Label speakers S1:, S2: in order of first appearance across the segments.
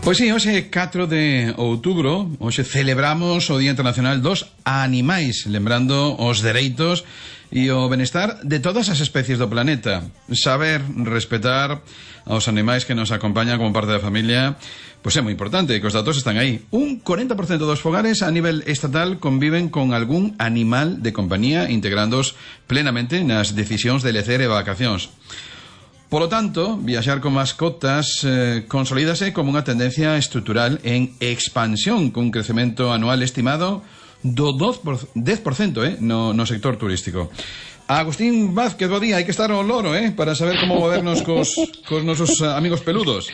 S1: Pois sí, hoxe 4 de outubro, hoxe celebramos o Día Internacional dos Animais, lembrando os dereitos e o benestar de todas as especies do planeta. Saber respetar aos animais que nos acompañan como parte da familia, pois é moi importante, que os datos están aí. Un 40% dos fogares a nivel estatal conviven con algún animal de compañía, integrándoos plenamente nas decisións de lecer e vacacións. Polo tanto, viaxar con mascotas consolídase como unha tendencia estrutural en expansión, cun crecemento anual estimado do 10% no sector turístico. Agustín Vázquez, bo día, hai que estar ao loro, para saber como movernos cos nosos amigos peludos.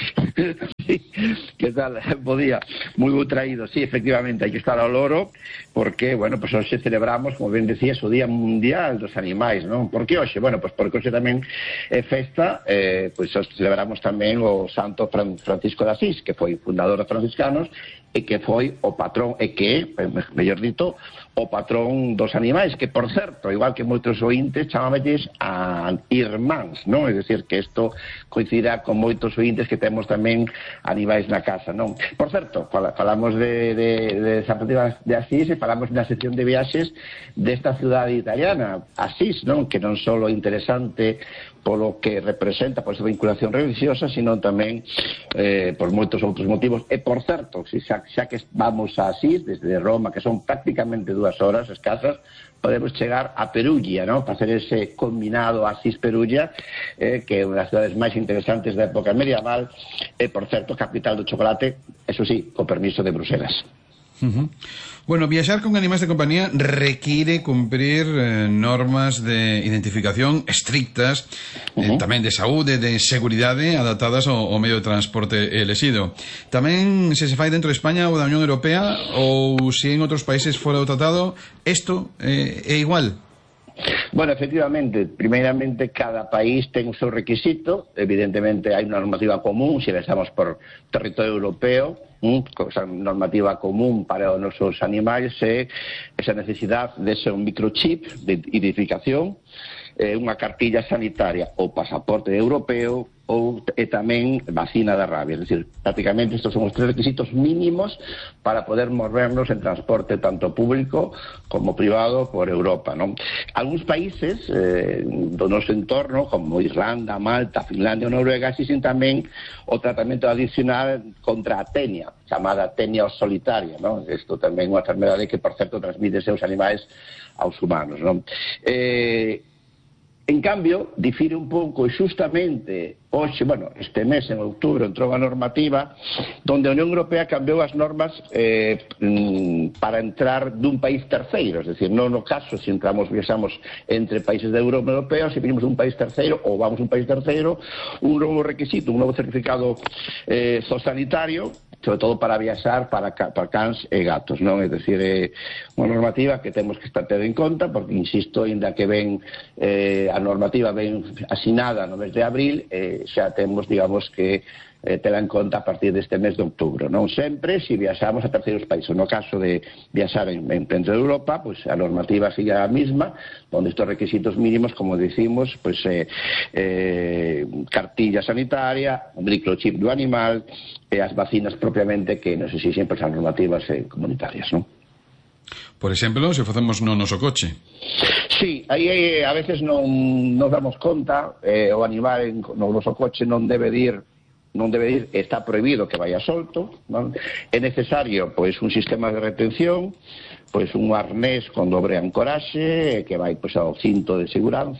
S2: Que tal? Bo día, moi bo traído. Sí, efectivamente, hai que estar ao loro porque, bueno, pues hoxe celebramos, como ben decías, o Día Mundial dos Animais, non? Por que hoxe? Bueno, pues porque hoxe tamén é festa, pues hoxe celebramos tamén o Santo Francisco de Asís, que foi fundador dos franciscanos e que foi o patrón, e que, mellor dito, o patrón dos animais, que, por certo, igual que moitos ointes, chamámelles a irmáns, non? É dicir, que isto coincida con moitos ointes que temos tamén animais na casa, non? Por certo, falamos de San Francisco de Asís e falamos na sección de viaxes desta cidade italiana, Asís, non? Que non só é interesante polo que representa, por esa vinculación religiosa, sino tamén por moitos outros motivos. E, por certo, xa que vamos a Asís, desde Roma, que son prácticamente 2 horas escasas, podemos chegar a Perugia, ¿no? Para hacer ese combinado Asís-Perugia, que é unha das cidades máis interesantes da época medieval, e, por certo, capital do chocolate, eso sí, co permiso de Bruselas.
S1: Bueno, viaxar con animais de compañía require cumprir normas de identificación estrictas, tamén de saúde, de seguridade, adaptadas ao medio de transporte elexido. Tamén se fai dentro de España ou da Unión Europea, ou se en outros países fora do tratado, isto é igual?
S2: Bueno, efectivamente, primeiramente cada país ten o seu requisito, evidentemente hai unha normativa común, se pensamos por territorio europeo, esa normativa común para os nosos animais é esa necesidade de ser un microchip de identificación, unha cartilla sanitaria ou pasaporte europeo e tamén vacina da rabia. É dicir, prácticamente estes son os 3 requisitos mínimos para poder movernos en transporte tanto público como privado por Europa, non? Algúns países do noso entorno, como Irlanda, Malta, Finlandia ou Noruega, existen tamén o tratamento adicional contra a tenia, chamada tenia solitaria, non? Isto tamén é unha enfermedade que, por certo, transmite seus animais aos humanos, non? En cambio, difire un pouco, e xustamente hoxe, bueno, este mes, en outubro, entrou a normativa donde a Unión Europea cambiou as normas para entrar dun país terceiro, es decir, non no caso se viaxamos entre países da Europa Europea, se vinimos dun país terceiro ou vamos dun país terceiro, un novo requisito, un novo certificado zoosanitario, sobre todo para viaxar para cans e gatos, non? É dicir, é unha normativa que temos que estar ter en conta, porque, insisto, ainda que ven a normativa ben asinada no mes de abril, xa temos, digamos, que tela en conta a partir deste mes de outubro, non? Sempre se viaxamos a terceiros países. No caso de viaxar en dentro de Europa, pois a normativa sigue a mesma, onde estes requisitos mínimos, como decimos, pois cartilla sanitaria, microchip do animal e as vacinas propiamente que nos exixen as normativas comunitarias, non?
S1: Por exemplo, se facemos no noso coche.
S2: Sí, aí a veces non nos damos conta, o animal no noso coche non debe ir, está prohibido que vaya solto, non? É necesario, pois, un sistema de retención, pois un arnés con dobre ancoraxe que vai, pois, ao cinto de seguridade,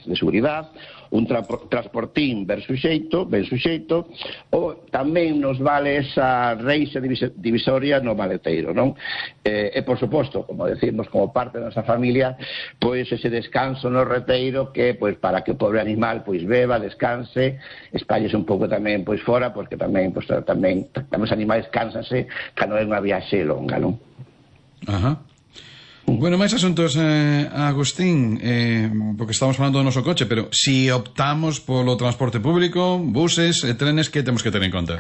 S2: un transportín ben suxeito, ou tamén nos vale esa reixa divisoria no maleteiro, non? E, por suposto, como decimos, como parte da nosa familia, pois ese descanso no reteiro que, pois, para que o pobre animal, pois, beba, descanse, espállese un pouco tamén, pois, fora, porque tamén, pois, tamén os animais cánsanse cando é unha viaxe longa, non?
S1: Ajá. Bueno, máis asuntos, Agustín, porque estamos falando do noso coche, pero si optamos polo transporte público, buses e trenes, que temos que ter en conta?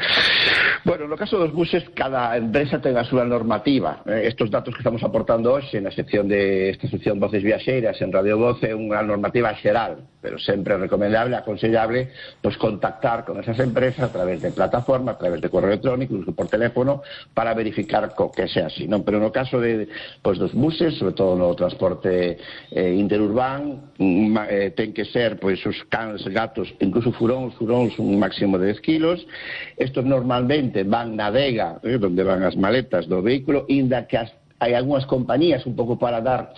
S2: Bueno, no caso dos buses, cada empresa ten a súa normativa. Estos datos que estamos aportando hoxe na sección esta sección Voces Viaxeiras en Radio Voz é unha normativa xeral, pero sempre é recomendable, aconsellable, pues contactar con esas empresas a través de plataforma, a través de correo electrónico, incluso por teléfono, para verificar que sea así, non? Pero no caso dos buses, sobre todo no transporte interurbán, ten que ser os cans, gatos, incluso furóns un máximo de 10 kilos. Estos normalmente van na adega, donde van as maletas do vehículo, inda que hai algunhas compañías un pouco para dar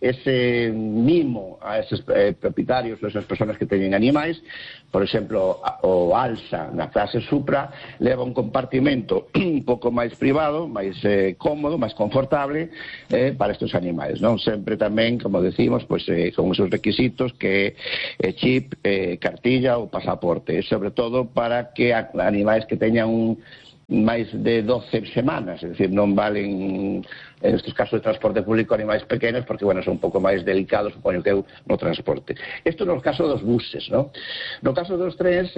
S2: ese mimo a esos propietarios ou esas persoas que teñen animais. Por exemplo, o Alsa na clase Supra leva un compartimento un pouco máis privado, máis cómodo, máis confortable para estes animais, non? Sempre tamén, como decimos, con esos requisitos que chip, cartilla ou pasaporte, sobre todo para que animais que teñan máis de 12 semanas, é dicir, non valen en estes casos de transporte público animais pequenos porque, bueno, son un pouco máis delicados, supoño que eu, no transporte. Isto no caso dos buses, non? No caso dos trens,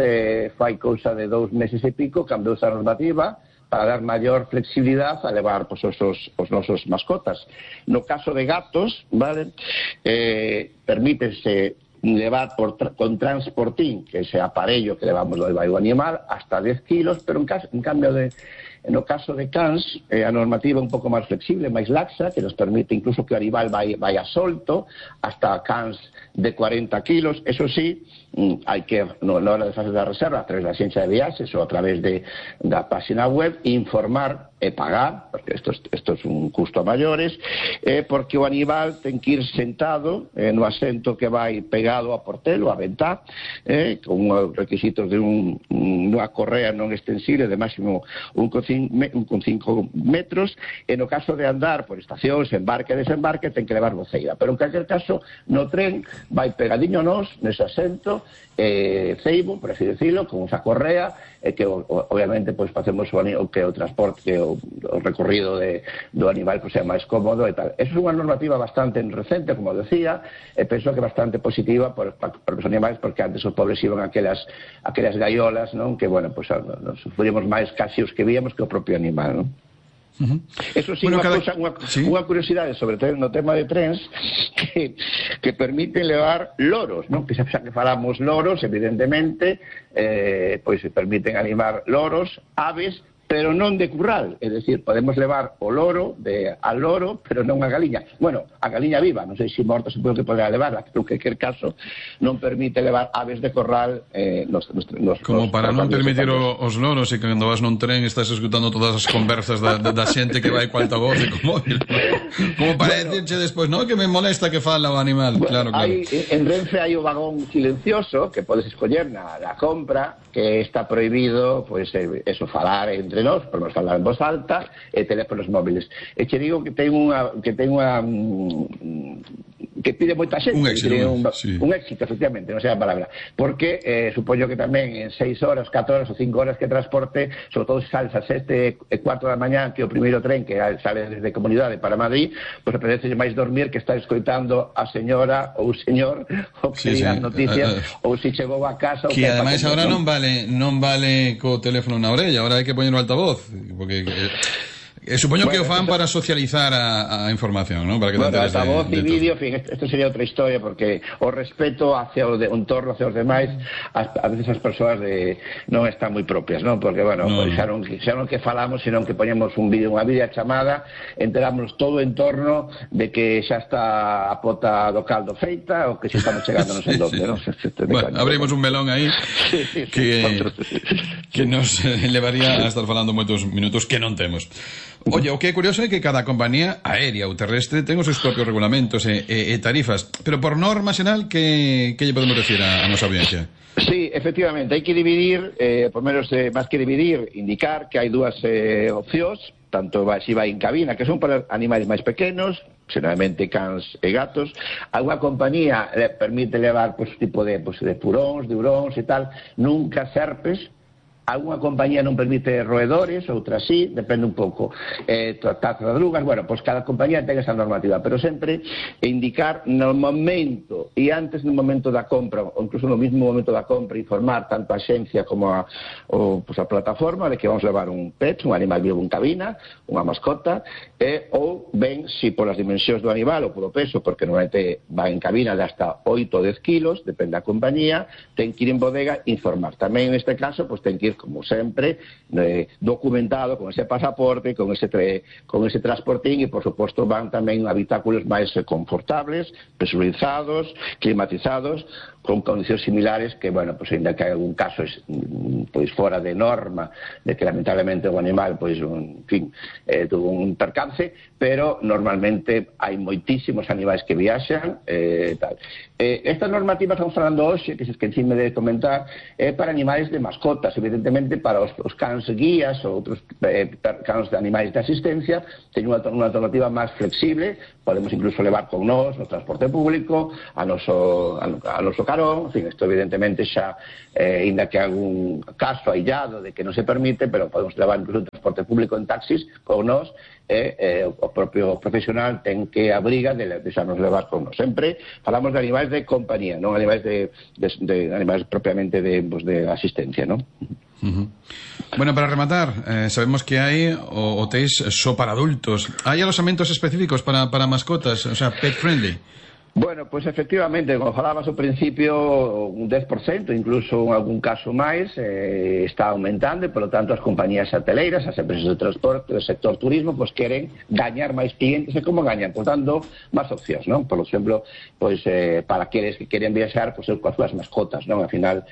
S2: fai cousa de 2 meses e pico, cambiou esa normativa para dar maior flexibilidade a levar os nosos mascotas. No caso de gatos, vale, permítese levar con transportín, que é ese aparello que levamos do o animal, hasta 10 kilos, pero en cambio no caso de cans, a normativa é un pouco máis flexible, máis laxa, que nos permite incluso que o animal vai a solto, hasta cans de 40 kilos. Eso sí, hai que, na hora de facer a reserva, a través da axencia de viaxes ou a través da página web, informar e pagar, porque isto é un custo a maiores, porque o animal ten que ir sentado no asento que vai pegado a portelo, a ventá, con os requisitos de unha correa non extensible de máximo 1,5 metros, e no caso de andar por estacións, embarque e desembarque, ten que levar voceira. Pero en calquer caso, no tren vai pegadiño nós, nese asento, ceibo, por así decirlo, con esa correa, que obviamente facemos o transporte, o recorrido do animal sea máis cómodo e tal. Eso é unha normativa bastante recente, como decía, e penso que bastante positiva para os animais, porque antes os pobres iban a aquelas gaiolas, non? Que, bueno, nos sufrimos máis casi os que víamos que o propio animal, non? Eso sí, unha curiosidade sobre no tema de trens que permiten levar loros, non? Que xa que falamos loros, evidentemente, se permiten animar loros, aves, pero non de curral, é dicir, podemos levar o loro al loro, pero non a galiña. Bueno, a galiña viva, non sei se morta se pode que poderá levarla, pero que quer caso non permite levar aves de corral
S1: como para non permitir os loros, e que cando vas nun tren estás escutando todas as conversas da xente que vai co altavoz e co móvil, como para decirche despois, non, que me molesta que fala o animal. Claro.
S2: En Renfe hai o vagón silencioso que podes escoller na compra, que está prohibido eso, falar entre nós, podemos falar en voz alta, e teléfonos móviles. E che digo que ten unha que pide moita xente, un éxito, efectivamente, non sei a palabra, porque supoño que tamén en 6 horas, 4 horas ou 5 horas que transporte, sobre todo se sales a 7:15 da mañá, que o primeiro tren que sale desde Comunidade para Madrid, pois apetece máis dormir que estar escoitando a señora ou o señor ou que digan noticias, ou se chegou a casa,
S1: que ademais agora non vale co teléfono na orella, agora hai que poñer o altavoz, porque supoño que o fan para socializar a información, ¿no? Para que
S2: altavoz e vídeo, en fin, esto sería outra historia, porque o respeto hacia o entorno, hacia os demais, a veces as persoas non están moi propias, non? Porque, bueno, xa non que falamos, senón que poñemos un vídeo, unha videochamada, enterámonos todo o entorno de que xa está a pota do caldo feita, ou que xa estamos chegando non sei onde, non?
S1: Bueno, abrimos un melón aí que nos levaría a estar falando moitos minutos que non temos. Oye, o que é curioso é que cada compañía aérea ou terrestre ten os seus propios regulamentos e tarifas, pero por norma xeral que lle podemos decir a nosa audiencia?
S2: Sí, efectivamente, hai que dividir, por menos máis que dividir, indicar que hai dúas opcións, tanto si vai en cabina, que son para animais máis pequenos, xeralmente cans e gatos. Alguna compañía permite levar tipo de puróns, de huróns e tal, nunca serpes, Alguna compañía non permite roedores, outra sí, depende un pouco. Tartarugas, bueno, pois cada compañía ten esa normativa, pero sempre indicar no momento e antes no momento da compra, ou incluso no mismo momento da compra, informar tanto a xencia como a plataforma de que vamos levar un pet, un animal vivo en cabina, unha mascota, ou ben, se polas dimensións do animal ou polo peso, porque normalmente va en cabina de hasta 8 ou 10 kilos, depende da compañía, ten que ir en bodega informar. Tamén neste caso, pois ten que ir como sempre, documentado con ese pasaporte, con ese transportín e, por suposto, van tamén habitáculos máis confortables, presurizados, climatizados, con condicións similares que, bueno, pues, ainda que hai algún caso pois fora de norma, de que lamentablemente o animal, pois, en fin, tuvo un percance, pero normalmente hai moitísimos animais que viaxan, tal. Esta normativa estamos falando hoxe, que se esquecime de comentar, é para animais de mascotas, evidentemente para os cans guías ou outros cans de animais de asistencia, teñen unha alternativa máis flexible, podemos incluso levar con nós no transporte público, a noso carón, en fin, isto evidentemente xa, ainda que algún caso aillado de que non se permite, pero podemos levar incluso o transporte público en taxis con nós, o propio profesional ten que abriga de deixarnos levar con nós. Sempre falamos de animais de compañía, non animais de animais propiamente de asistencia, non?
S1: Bueno, para rematar, sabemos que hai hotéis só para adultos. Hai alojamentos específicos para mascotas, o sea, pet friendly?
S2: Bueno, pois efectivamente, como falabas ao principio, un 10%, incluso en algún caso máis, está aumentando e, polo tanto, as compañías hoteleiras, as empresas de transporte, do sector turismo, pois queren gañar máis clientes e como gañan, pois dando máis opcións, non? Por exemplo, pois para aqueles que queren viaxar, pois coas súas mascotas, non? Ao final,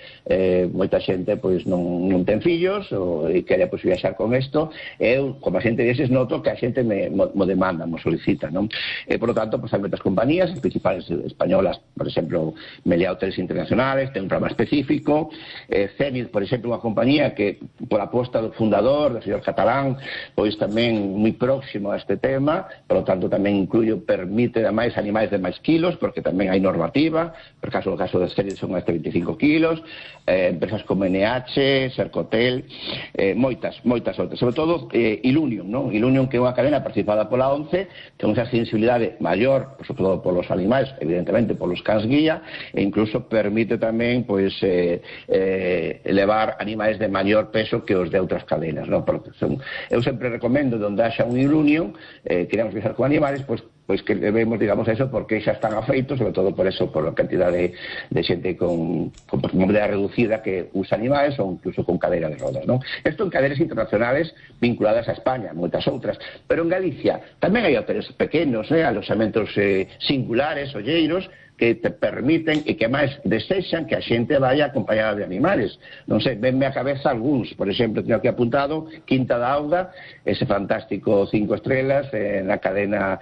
S2: moita xente pois non ten fillos e quere pois viaxar con isto. Eu, como a xente deses, noto que a xente mo demanda, mo solicita, non? E, por lo tanto, pois hai moitas compañías, as principais españolas, por exemplo, Meliá Hoteles Internacionales, ten un programa específico, Zenit, por exemplo, unha compañía que, por aposta do fundador, do señor Catalán, pois tamén moi próximo a este tema, por lo tanto tamén permite máis animais de máis kilos, porque tamén hai normativa, por caso de Zenit son hasta 25 kilos, empresas como NH, Sercotel, moitas outras, sobre todo Ilunion, non? Ilunion, que é unha cadena participada pola ONCE, ten unha sensibilidade maior, por sobre todo polos animais, evidentemente polos cans guía, e incluso permite tamén pois levar animais de maior peso que os de outras cadenas, non? Eu sempre recomendo onde haxa un Ilunion, queremos viajar con animales, pois que vemos, digamos, eso porque xa están afeitos, sobre todo por eso, por a cantidad de xente con movilidade reducida que usa animais ou incluso con cadeira de rodas, non? Isto en cadenas internacionales vinculadas a España, moitas outras, pero en Galicia tamén hai hoteles pequenos, alojamentos singulares, olleiros, que te permiten e que máis desexan que a xente vaya acompañada de animales. Non sei, venme a cabeza algúns, por exemplo, teño aquí apuntado Quinta da Auga, ese fantástico 5 estrelas na cadena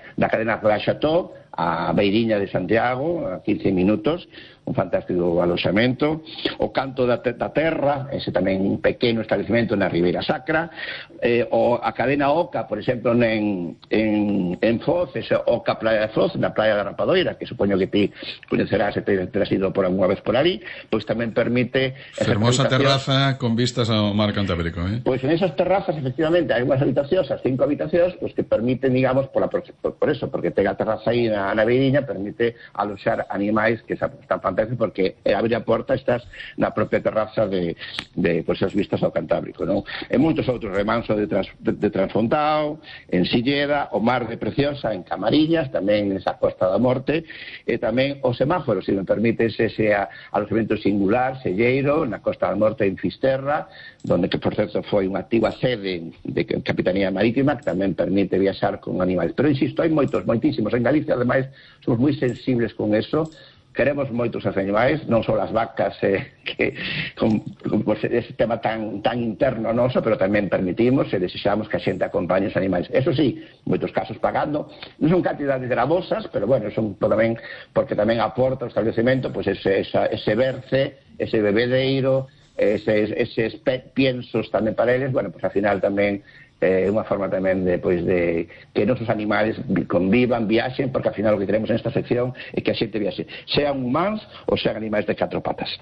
S2: Royal Chateau, a beiriña de Santiago, a 15 minutos, un fantástico aloxamento, o Canto da Terra, ese tamén un pequeno establecimento na Ribeira Sacra, a cadena Oca, por exemplo, en Foz, ese Oca Praia de Foz, na Praia da Rapadoira, que supoño que ti coñecerás e terás ido por alguna vez por ali, pois tamén permite...
S1: Fermosa terraza con vistas ao mar Cantábrico,
S2: Pois en esas terrazas, efectivamente, hai unhas habitacións, as 5 habitacións, pois que permiten, digamos, por eso, porque ten a terraza aí na beiriña, permite aloxar animais que están fantásticos, porque abre a porta, estás na propia terraza de pois, as vistas ao Cantábrico, non? E moitos outros, Remanso de Transfontao, en Silleda, o Mar de Preciosa, en Camariñas, tamén nesa Costa da Morte, e tamén o Semáforo, se me permites, ese alojamento singular, selleiro, na Costa da Morte, en Fisterra, donde, que por certo foi unha activa sede de Capitanía Marítima, que tamén permite viaxar con animais. Pero insisto, hai moitísimos. En Galicia, ademais, somos moi sensibles con eso. Queremos moitos os animais, non só as vacas, que con ese tema tan interno noso, pero tamén permitimos e desexamos que a xente acompañe os animais. Eso sí, moitos casos pagando, non son cantidades gravosas, pero bueno, son tamén, porque tamén aporta o establecemento, pois ese berce, ese bebedeiro, eses piensos tamén para eles, bueno, pois ao final tamén unha forma tamén de que nosos animales convivan, viaxen, porque ao final o que queremos nesta sección é que a xente viaxe, sean humanos ou sean animais de 4 patas.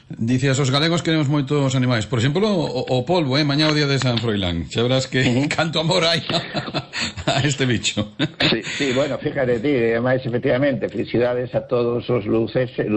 S1: Dicías, os galegos queremos moitos animais. Por exemplo, o polvo, mañá o día de San Froilán. Xa verás que canto amor hai a este bicho.
S2: Sí, bueno, fíjate ti, además, efectivamente, felicidades a todos os lucenses,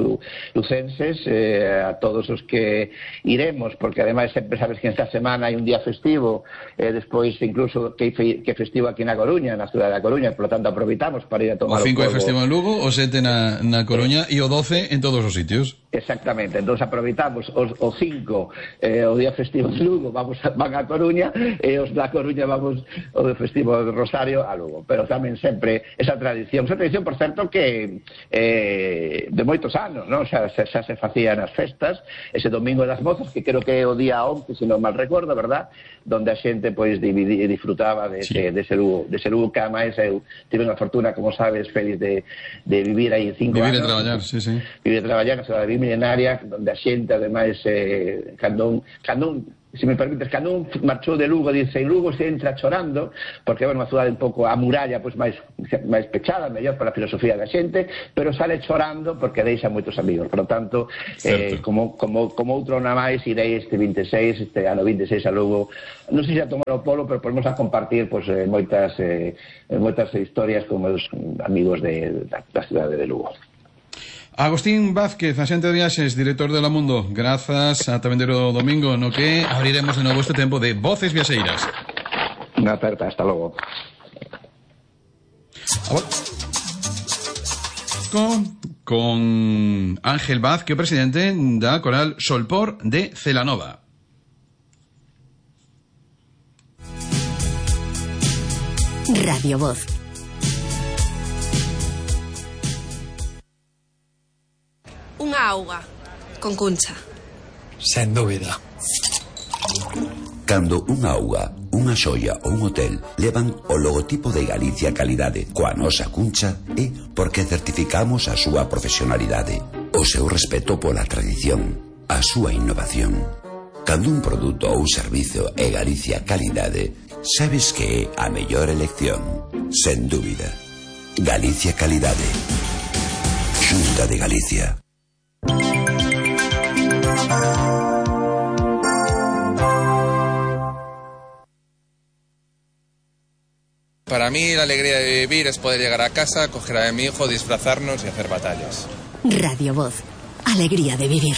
S2: a todos os que iremos, porque además sempre sabes que esta semana hai un día festivo, despois incluso que festivo aquí na Coruña, na cidade da Coruña, por lo tanto aproveitamos para ir a tomar
S1: o 5
S2: o polvo.
S1: É festivo en Lugo, o 7 na Coruña e o 12 en todos os sitios.
S2: Exactamente, entón aproveitamos o 5 o día festivo de Lugo van a Coruña e os da Coruña vamos o festivo de Rosario a Lugo, pero tamén sempre esa tradición, por certo que de moitos anos, non? Xa se facían as festas, ese domingo das mozas, que creo que é o día 11, se non mal recordo, verdad? Donde a xente pois disfrutaba dese Lugo, que ademais eu tive unha fortuna, como sabes, feliz de vivir aí 5 anos.
S1: Vivir e traballar, sí.
S2: Vivir e traballar na cidade milenaria, donde a xente, ademais, cando se me permites, cando un marchou de Lugo, dice, en Lugo se entra chorando, porque é unha cidade un pouco a muralla, pois máis pechada, mellor para a filosofía da xente, pero sale chorando porque deixa moitos amigos. Por lo tanto, como outro na máis, irei este ano 26 a Lugo, non sei se a tomar o polo, pero podemos a compartir pois, moitas historias con meus amigos da cidade de Lugo.
S1: Agustín Vázquez, axente de viaxes, director de La Mundo, grazas a Vendero Domingo, no que abriremos de novo este tempo de Voces Viaxeiras.
S2: Unha aperta, hasta logo.
S1: Con Ángel Vaz, que é o presidente da Coral Solpor de Celanova.
S3: Radio Voz.
S4: Unha auga, con Cuncha.
S5: Sen dúbida.
S6: Cando unha auga, unha xoia ou un hotel levan o logotipo de Galicia Calidade coa nosa Cuncha, é porque certificamos a súa profesionalidade, o seu respeto pola tradición, a súa innovación. Cando un produto ou servizo é Galicia Calidade, sabes que é a mellor elección, sen dúbida. Galicia Calidade. Xunta de Galicia.
S5: Para mí la alegría de vivir es poder llegar a casa, coger a mi hijo, disfrazarnos y hacer batallas.
S3: Radio Voz. Alegría de vivir.